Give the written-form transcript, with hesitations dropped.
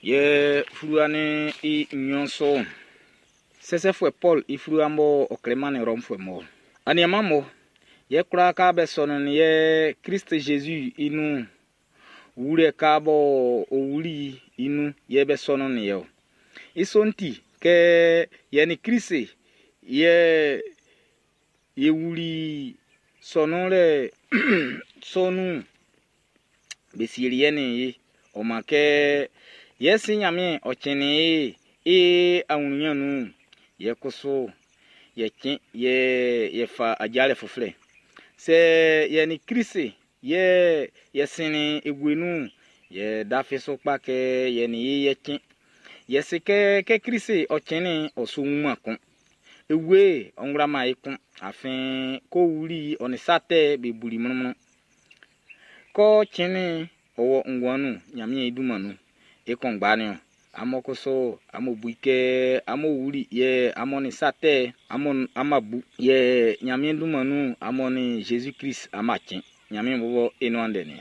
Yɛ fluwa'n i nɲɔn su'n, Sɛsɛfuɛ Pɔl i fluwa b'ɔ klɛ mannin Rɔmfuɛ mun'n. Aniaan'm mo, yɛ kwlaa ka be sɔnnin yɛ Krist Jésus i nun wulɛ ka b'ɔ wuli i nun yɛ be sɔnnin yɛ ɔ. I sɔ'n ti, kɛ yɛ nin Krist yɛ ye wuli sɔnun lɛ sɔ'n nun'n, be sieli yɛ nin ye. Ɔ man kɛ yɛ si Nyanmiɛn ɔ cɛnnin ye i awunyɛn nun'n, yɛ kusu yɛ cɛn yɛ yɛ fa ajalɛ fuflɛ. Sɛ yɛ nin Krist yɛ yɛ sinnin e wue nun'n, yɛ dafi su kpa kɛ yɛ nin ye yɛ cɛn. Yɛ se kɛ kɛ Krist ɔ cɛnnin'n, ɔ su wuman kun. E wue ɔ wlaman e kun, afin k'ɔ wuli ɔ nin sa tɛ be buli mlɔnmlɔn. K'ɔ cɛnnin'n, ɔ wɔ nguan nun Nyanmiɛn i dunman nun. E kunngba nin-ɔn. Amun kusu amun bu i kɛ amun wuli yɛ amun nin sa tɛ amun ama bu yɛ Nyanmiɛn dunman nun amun nin Jésus-Krist ama cɛn. Nyanmiɛn bɔbɔ i nuan ndɛ nin.